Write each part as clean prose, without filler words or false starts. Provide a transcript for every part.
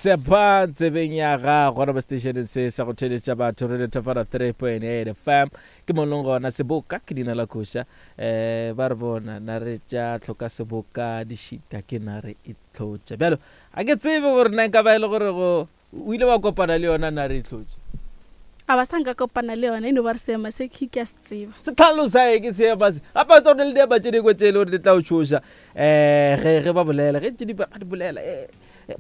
Tshepa tsebeng ya gago gona mo seteišeneng se sa go theeletša batho Radio Thafana 3.8 FM ke mo leng gona seboka ke dina la koša um ba re bona nare tša tlhoka seboka di šita ke nare e tlhotša bjalo ga ke tsebe gore na nka ba e le gore go O ile wa kopana le yona na re e hlotše? A ba sa nka kopana le yona, e no ba re seema se ke ke a se tseba. Se tlhalosa eng seema se? Gape wa tseba go na le diema tše dingwe tše e le gore di tla o tšhoša um ge ge ba bolela, ge tše di ba di bolela e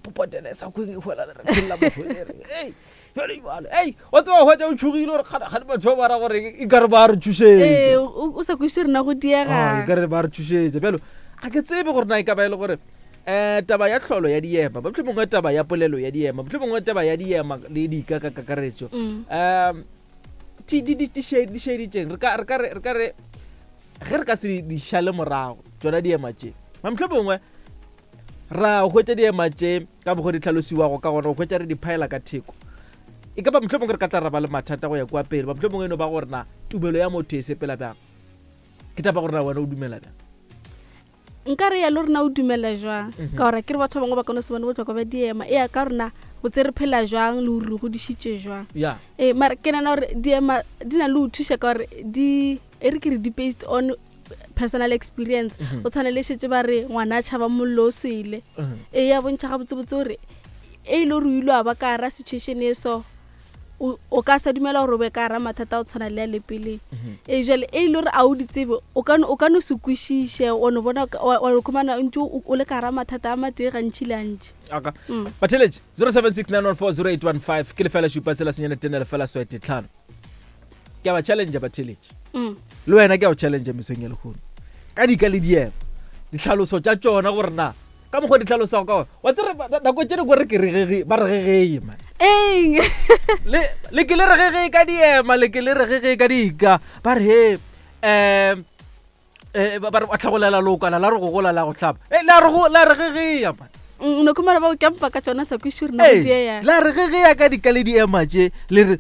popotela e sa kweng e hwela le re thella motho e re ei jale jale ei wa tseba hwetša o tšhogile gore kgane kgane batho ba ba ra gore e ka re ba re tšhošetša. Ee, o sa kwešiše gore na go diega. E ka re ba re tšhošetša bjalo ga ke tsebe gore na e ka ba e le gore Um taba ya tlholo ya diema, mohlomongwe taba ya polelo ya diema, mohlomongwe taba ya diema le dika ka kakaretšo. Um di di di di šeditšeng re ka re ka re re ka re ge re ka se di šale morago tšona diema tše. Mohlomongwe ra hwetša diema tše ka mokgwa di tlhalosiwago ka gona, go hwetša re di phaela ka theko. E ka ba mohlomongwe re ka tla ra ba le mathata go ya kua pele, ba mohlomongwe e no ba gore na tumelo ya motho e sepela bjang. Ke taba gore na wena o dumela bjang. Nka re ya le rena o dumela jwang mhm. ka gore ke re batho ba bangwe ba ka no se bone botlhokwa ba diema e ya ka rona botse re phela jwang le gore re godišitše jwang ee mara ke nana gore diema di na le go thuša ka gore di e re ke re di based on personal experience mhm. o tshwane le šetse ba re ngwana a tšhaba mollo o swele mhm. e ya bontšha gabotsebotse gore e ile gore o ile wa ba ka gara situation e so o ka sa dumela gore o be ka gara mathata a go tshwana le ya le peleng mhm. ee jale e ile gore a o di tsebe o ka no se kwešiše o no bona wa khumana o ntse o le ka gara mathata a matee gantši le antši aka mm. batheletše 0769140815 ke lefela šupa tsela senyane tene lefela swete tlhano ke a ba challenge batheletše mm. le wena ke a go challenge mesong ya lehono ka dika le diema ditlhaloso tša tšona gore na ka mokgwa di tlhalosago ka wa tsere nako tše dingwe re ke re gege ba re gegeye man eng le le ke le re gegeye ka diema le ke le re gegeye ka dika ba re he um ba re wa tlhagolela lokwana la re go gola la go tlhapa e la re go la re gegeya man mm, no khumana ba o kampa ka tsona sa kwiši rena go dieya la re gegeya ka dika le diema tše le re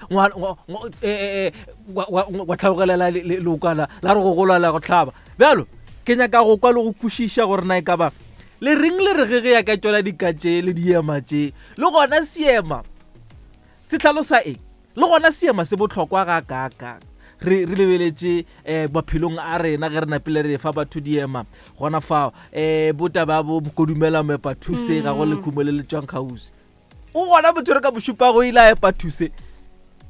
eh, eh, wa tlhagolela lokwana la re go gola la go tlhaba bjalo ke nyaka go kwa le go kwešiša gore na e ka ba le reng le re ge ge ya ka tšona dika tše le diema tše le gona seema se tlhalosa eng le gona seema se bohlokwa ga kaakang re re lebeletše um maphelong a rena ge re napile re fa batho diema gona fao um botaba bo kodumela moepa thuse ga go lekhumo le le tswang kgauswi o gona motho re ka mo šupa go ile a epa thuse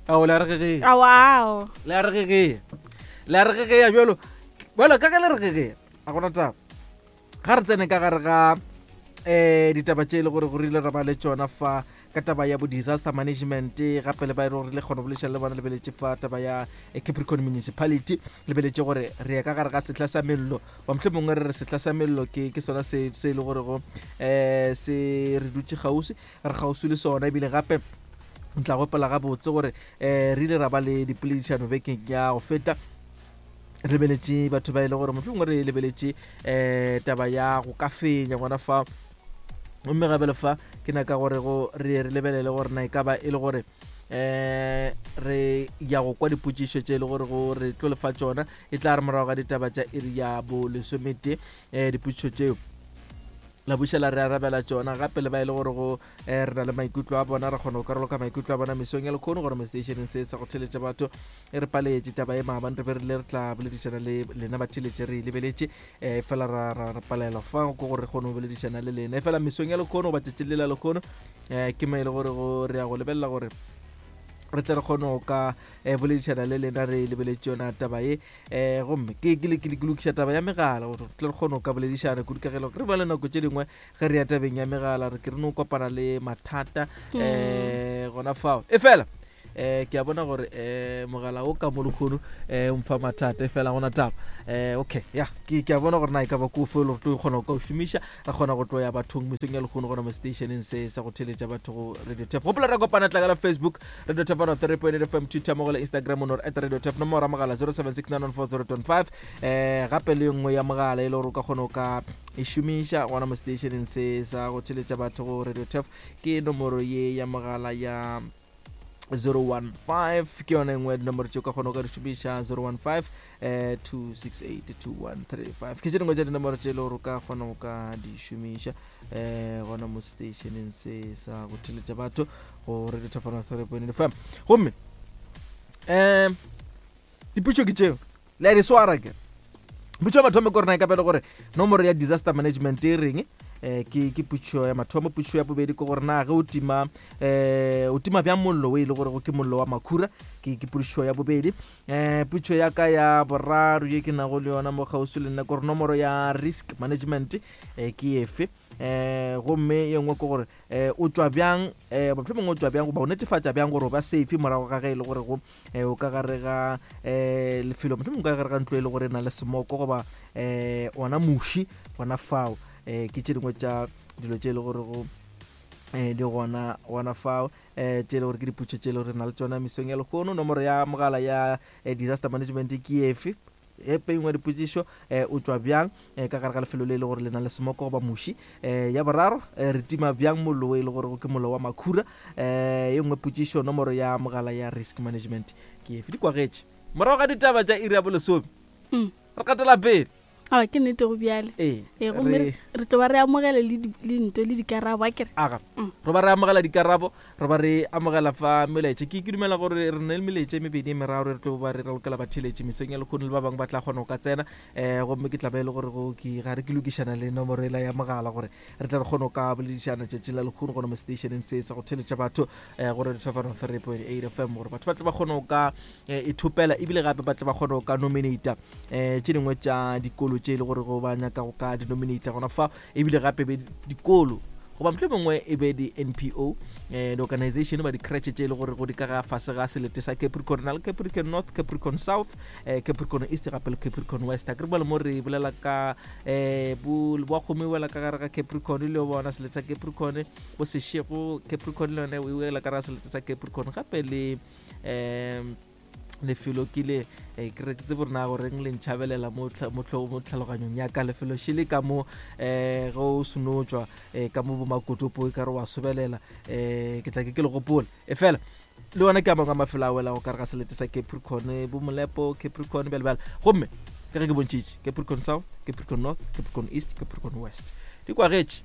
ao le a re gegea ao le a re gegea le a re gegea bjalo bjalo ka ge le re gegea a gona taba ga re tsene ka gare ga um ditaba tše e le gore go rile ra ba le tšona fa ka taba ya bo disaster management gape le ba e le gore le kgona go boledišana le bona lebeletše fa taba ya eh, capricorn municipality lebeletše gore re ya ka gare ga sehla sa mello ba motlho mongwe re re sehla sa mello ke ke sona se se e le gore go um se re dutše kgauswi re kgauswi le sona ebile gape ntla gopola gabotse gore um re ile ra ba le dipoledišano bekeng ya go feta re lebeletše batho ba e le gore motlho mongwe re lebeletše um taba ya go ka fenya gona fa gomme gabele fa ke nyaka gore go re re lebelele gore na e ka ba e le gore um re ya go kwa dipotšišo tše e le gore go re tlo lefa tšona e tla re morago ga ditaba tša iri ya bo lesomete um dipotšišo tšeo la buša la re arabela tšona gape le ba e le gore go um re na le maikutlo a bona re kgona go karoloka maikutlo a bona mesong ya lekgono gore mo stationeng se sa go theletša batho e re paletše taba e maabane re be re le re tla boledišana le lena batheletše re e lebeletše um fela ra ra ra palelwa fa ko gore re kgone go boledišana le lena e fela mesong ya lekgono goba tšatši le la lekgono um ke mo e le gore go re ya go lebelela gore re tle re kgone go ka um boledišana le lena re lebeletše yona taba ye um gomme ke ke ke ke lokiša taba ya megala gore re tle re kgone go ka boledišana kudu ka ge re ba le nako tše dingwe ge re ya tabeng ya megala re ke re no kopana le mathata um gona fao e fela eh ke a bona gore eh mogala o ka mo lekgono eh o mfa mathata e fela gona taba eh okay ya ke ke a bona gore na e ka ba ko fe le gore tlo kgona go ka o šomiša ra kgona go tlo ya bathong mesong ya lekgono gona mo stationeng se sa go theletša batho go radio tef gopola ra kopana tlakala facebook radio tef 103.8 fm twitter mo go le instagram o no re at radio tef nomoro ya mogala 07691402 eh gape le nngwe ya mogala e le gore o ka kgona go ka e šomiša gona mo stationeng se sa go theletša batho go radio tef ke nomoro ye ya mogala ya 015 ke yona engwe ya dinomoro tše o ka kgona go ka di šomiša 015 eh, 268 2135 ke tše dingwe tša dinomoro tše e le gore o ka kgona go ka di šomiša. um gona mo stationeng se sa go theletša batho go Radio Thafana 3.8 FM. Gomme um diputšo ke tšeo le a di swara ke putšo ya mathomo ke gore na e ka pele gore nomoro ya disaster management e reng eh ke ke putšo ya mathomo. Putšo ya bobedi ke gore na ge o tima eh o tima bjang mollo o e le gore go ke mollo wa makhura, ke ke putšo ya bobedi. Eh putšo ya ka ya boraro ye ke nago le yona mo kgauswi le nna ke gore nomoro ya risk management eh ke efe. Eh gomme ye nngwe ke gore eh o tšwa bjang eh mohlomongwe o tšwa bjang goba o netefatša bjang gore o ba safe morago ga ge e le gore go eh o ka gare ga eh lefelo, mohlomongwe ka gare ga ntlo e le gore e na le smoko goba eh ona muši gona fao. Eh ke tše dingwe tša dilo tše e le gore go eh di gona gona fao eh tše e le gore ke diputšo tše e le gore re na le tšona mesong ya lehono. Nomoro ya mogala ya eh, disaster management ke efe? Epe engwe dipotšišo eh, o tšwa bjang eh, ka gare ga lefelo le e le gore le na le smoko goba muši? Eh, ya boraro eh, re tima bjang mollo o e le gore ke mollo wa makhura? Eh, ye nngwe potšišo, nomoro ya mogala ya risk management ke efe? Di kwagetše morago ga ditaba tša iri ya bolesome. Re gatela pele. Aowa, ke nnete go bjale. Ee, Ee, gomme re- re tlo ba re amogela le di- le nto le dikarabo, a kere? Aga. Re ba re amogela dikarabo, re ba re amogela fa melaetša. Ke ke dumela gore re na le melaetša e mebedi e meraro re tlo ba re ralokela batheeletši mesong ya lehono, le ba bangwe ba tla kgona go ka tsena. Gomme ke tla ba e le gore go ke ga re ke lokišana le nomoro ela ya mogala gore re tle re kgone go ka boledišana tšatši la lehono gona mo stationeng se sa go theeletša batho go Radio Thofano 3.8 FM, gore batho ba tle ba kgone go ka ithopela ebile gape ba tle ba kgone go ka nominata tše dingwe tša dikolo tše e le gore go ba nyaka go ka denominata gona fa, ebile gape be dikolo goba mohlomongwe mongwe e be di-NPO, di-organization ba di-creche tše e le gore go di ka ga fase ga selete sa Capricorn. Na le Capricorn North, Capricorn South, Capricorn East gape le Capricorn West. A ke re bale mo re bolela ka um bo kgomo e wela ka gare ga Capricorn, le bona selete sa Capricorn, bo Seshego Capricorn le yone e wela ka gare ga selete sa Capricorn gape le um lefelo ke le ke re ke tsebe gore na goreng le ntšhabelela mo tlhaloganyong ya ka. Lefelo šele ka mo ge o seno tšwa ka mo bomakotopo e ka re wa sobelela, ke tla ke ke le gopola e fela le yona ke a mangwe a mafelo a welago ka re ga selete sa Capricorn, bo Molepo Capricorn bjale bjale. Gomme ke ge ke bontšhitše Capricorn South, Capricorn North, Capricorn East, Capricorn West di kwagetše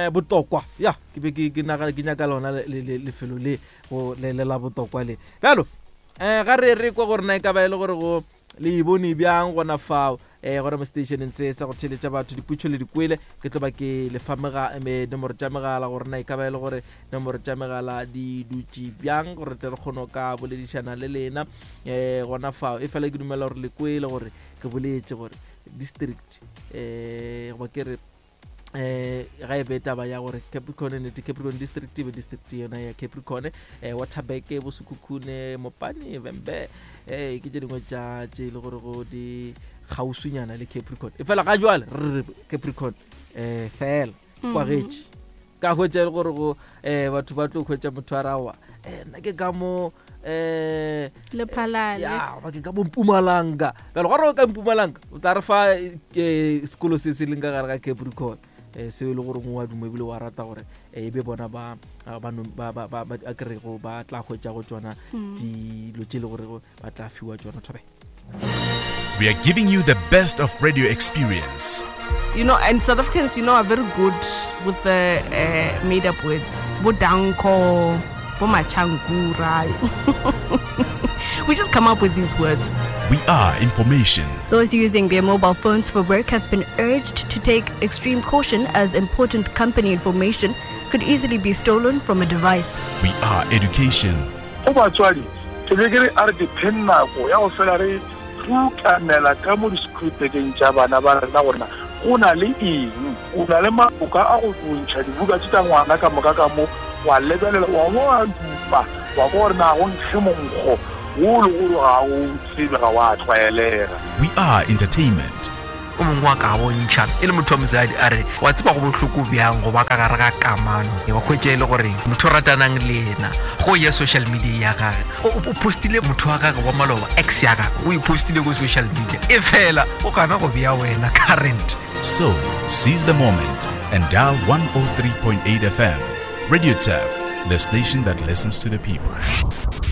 botokwa ya ke be ke ke nyaka lona lefelo le go le le la botokwa le bjalo. Ga re re kwa gore na e ka ba e le gore go le e bone bjang gona fao gona mo stationeng se sa go theeletša batho. Diputšo le dikwele, ke tlo ba ke le fa nomoro tša megala gore na e ka ba e le gore nomoro tša megala di dutše bjang gore tle re kgone go ka boledišana le lena gona fao. E fela ke dumela gore le kwele gore ke boletše gore district goba ke re ga e be taba ya gore Capricorn nete Capricorn district e be district yona ya Capricorn, Waterberg, bo Sekhukhune, Mopani, Vhembe, ke tše dingwe tša tše e le gore go di kgauswinyana le Capricorn. E fela ga jwale re re Capricorn fela kwagetše ka hwetša e le gore go batho ba tlo hwetša motho a rawa nna ke ka mo Lephalale. Ya, ba ke ka mo Mpumalanga. Bjale gore o ka Mpumalanga o tla re fa sekolo se se leng ka gare ga Capricorn seo e le gore wa duma ebile wa rata gore e be bona ba ba ba ba ba ba a kerego ba tla hwetša go tšona dilo tše e le gore ba tla fiwa tšona thobe. We are giving you the best of radio experience. And South Africans, are very good with the made-up words. Bo danko, bo machankura. We just come up with these words. We are information. Those using their mobile phones for work have been urged to take extreme caution as important company information could easily be stolen from a device. We are education. Go batswadi, ke be ke re a re dipheng nako ya go fela re rutamela ka mo di-schoolbageng tša bana ba rena gore na go na le eng. O na le maboka a go ntšha dibuka tše tša ngwana ka moka ka mo, wa lebelela, wa bo wa dupa, wa kwa gore na go nkge monkgo wo le gore ga o tsebe, ga wa tlwaelega. We are entertainment. O mongwe wa ka bontšha e le motho wa mosadi a re, wa tseba go bohloko bjang go ba ka gare ga kamano, wa hwetša e le gore motho o ratanang le yena go ya social media ya gage o postile motho wa gage wa maloba, ex ya gage o e postile ko social media, e fela o gana go bea wena current. So, seize the moment and dial 103.8 FM. Radio Turf, the station that listens to the people.